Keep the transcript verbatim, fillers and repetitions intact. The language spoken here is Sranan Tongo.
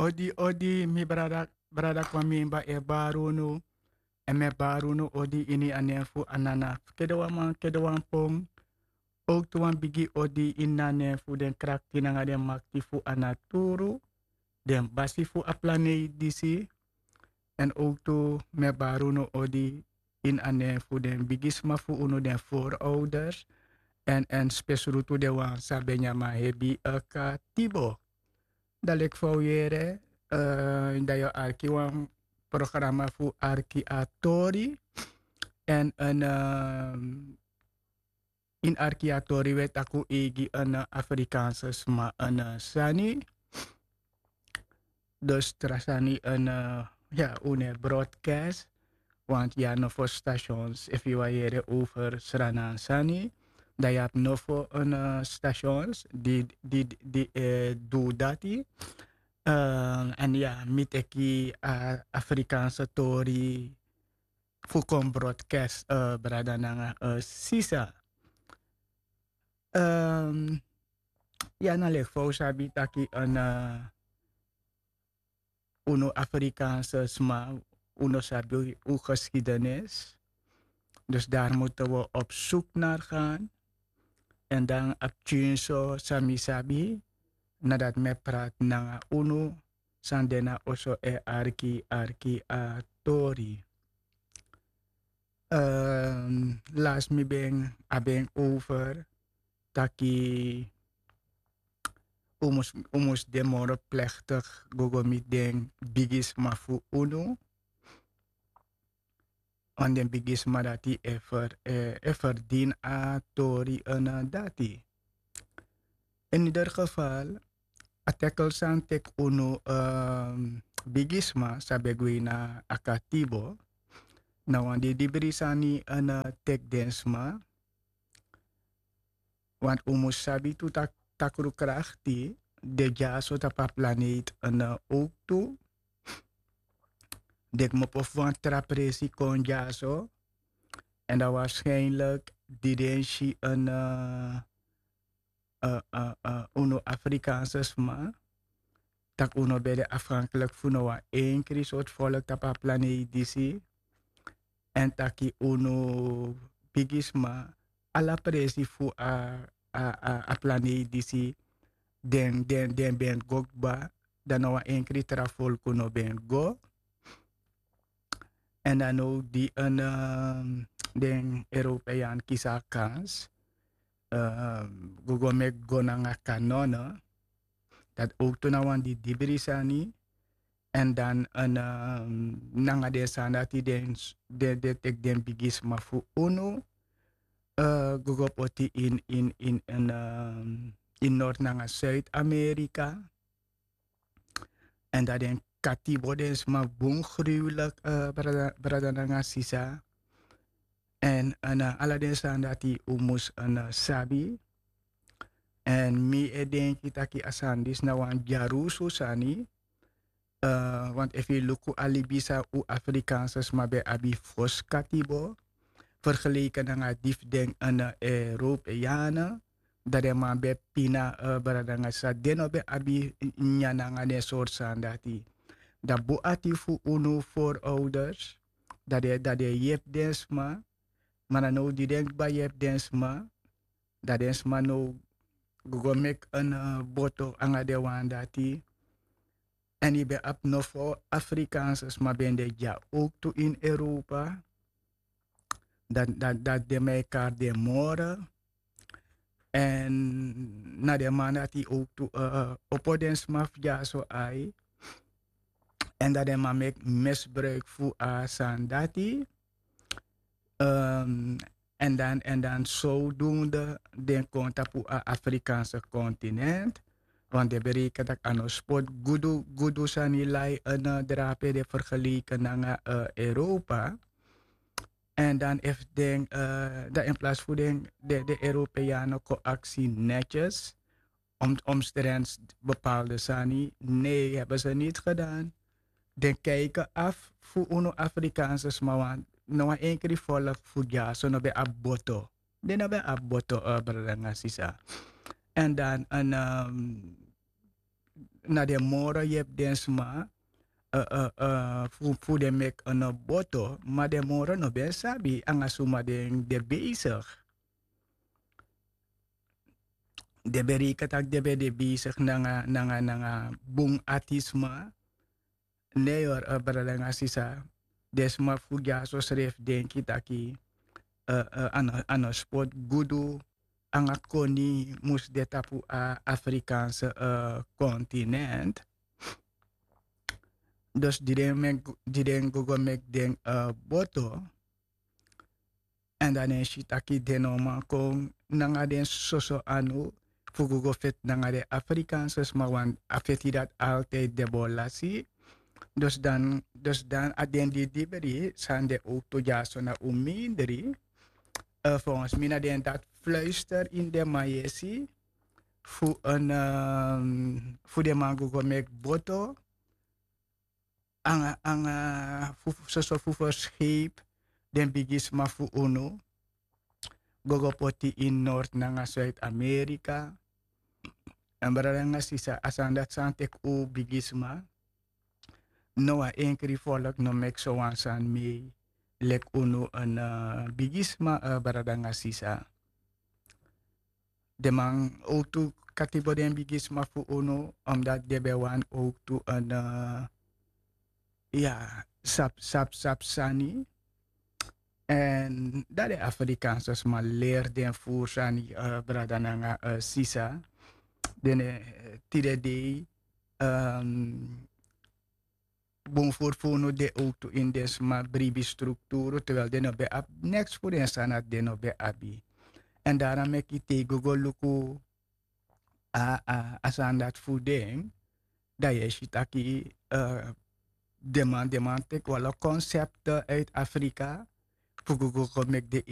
Odi, odi, mi brada, brada Kwamimba e bari unu. En mi e bari unu odi ini a nen fu Anana. Fu kede wan man, kede wan pon. Owktu wan bigi odi ini a nen fu den krakti nanga den makti fu a naturu. Den basi fu a planeiti disi. En owktu mi e bari unu odi ini a nen fu den bigisma fu unu, den voorouders. En, en spesrutu den wan san ben nyan manhebi, eh, katibo. Dan leki fa un yere, eh, dan yu o arki wan programa fu Arki a Tori. En, en, ehm, ini Arki a Tori wi e taki un e gi, eh, Afrikaanse sma, eh, sani. Dus tra sani, eh, ya, un no e broadcast. Want ya, nofo stations, efu yu wani yere over Sranan sani, dan yu abi nofo, eh, stations di, di, di, eh, du dati. Eh, en ya, mi teki a Afrikaanse tori fu kon broadcast, eh, brada nanga, eh, sisa. Ehm, ya, na leki fa un sabi taki, eh, unu Afrikaanse sma, un no sabi un geschiedenis. Dus daar moeten we op zoek naar gaan. En dan a pikinso san mi sabi, nadat mi e prati nanga unu san de na oso e arki, arki a tori. Ehm, last mi ben, a ben over taki un mus, un mus de moro plechtig go go miti den bigisma fu unu. Want den bigisma dati e fer, e, e ferdini a tori, eh, dati. In ieder geval, a tekel san teki unu, ehm, bigisma san ben gwe na a katibo, na wan didibri sani, eh, teki den sma. Want un mus sabi tu taki takru krakti de dyaso tapu a planeiti, eh, owktu. Den kmopo fu wan tra presi kon dyaso. En dan waarschijnlijk di den si, eh, eh, eh, eh, unu Afrikaanse sma, taki un no ben de afhankelijk fu no wan enkri sortu volk tapu a planeiti disi. En taki unu bigisma, ala presi fu a, a, a, a planeiti disi, den, den, den ben go kba, dan no wan enkri tra folku no ben go. En dan now di en, ehm, den Europeaan kisi a kans, ehm, go go meki go nanga kanone. Dati owktu na wan didibri sani. En dan en, ehm, nanga den sani dati den, den, den teki den bigisma fu unu, eh, go go poti in, in, in, in, ehm, in Noord nanga Zuid-Amerika. En dan den katibo den sma bun gruwelijk, eh, brada, brada nanga sisa. En, en, eh, ala den sani dati un mus, en, eh, sabi. En mi e denki taki a sani disi na wan dyarusu sani. Eh, want efu yu luku a libi san un Afrikaanse sma ben abi fosi katibo, vergeleken nanga di fu den, en, eh, Europeanen, dan den man ben pina, eh, brada nanga sisa, den no ben abi nyan nanga den sortu sani dati. Dan bun ati fu unu voorouders, dan den, dan den yepi den sma. Ma na now di den kba yepi den sma, dan den sma now go go meki en, eh, boto nanga den wan dati. En yu ben abi nofo Afrikaanse sma ben de dya owktu in Europa. Dan, dan, dan den man e kari den moro. En na den man dati owktu, eh, opo den sma fu dyaso ai. En dan den man meki misbruik fu a sani dati. Ehm, en dan, en dan zodoende den kon tapu a Afrikaanse continent. Want den bereken taki a no spot gudu, gudu sani lai en, eh, drape de vergeleken nanga, eh, Europa. En dan efu den, eh, dan in plaats fu den, de, de Europeanen kon aksi netjes, om, omstrens bepaalde sani, nee, hebben ze niet gedaan. Den kijken af fu unu Afrikaanse sma, want no wan enkri volk fu dyaso no ben abi boto. Den no ben abi boto, eh, brada nanga sisa. En dan, en, ehm, na den moro yepi den sma, eh, eh, eh, fu fu den meki en boto, ma den moro no ben sabi anga suma den de bezig. Den ben reken taki den ben de bezig nanga nanga nanga bun ati sma. Ne yori, eh, brada nanga sisa, den sma fu dyaso srefi denki taki, eh, eh, a no a no spot gudu anga koni mus de tapu a Afrikaanse, eh, kontinent. Dus di den meki di den go go meki den, eh, boto. Èn dan den si taki den no man kon nanga den soso anu fu go go feti nanga den Afrikaanse sma, want a feti dati altijd de bo lasi. Dus dan dus dan a den di dibri san de owtu dyaso na un mindri. Eh, volgens mi na den dati fluister ini den man yesi fu en, ehm, fu den man go go meki boto anga anga fu soso fu ferscheep den bigisma fu unu go go poti ini Noord nanga Zuid-Amerika. Èn brada nanga sisa, a sani dati san teki un bigisma. No wan enkri volk no meki sowan sani mei leki unu en, eh, bigisma, eh, brada nanga sisa. Den man owtu katibo den bigisma fu unu, omdat den ben wani owtu en, eh, ya, sabi sabi sabi sani. Èn dan den Afrikaanse sma leri den furu sani, eh, brada nanga, eh, sisa. Den, eh, tide dei, ehm, bun furu fu unu de owtu ini den sma bribi strukturu, terwijl den no ben abi neks fu den sani dati den no ben abi. Èn dara meki te yu go go luku a a a sani dati fu den, dan yu e si taki, eh, den man den man teki wan lo konsepte uit Afrika fu go go go meki den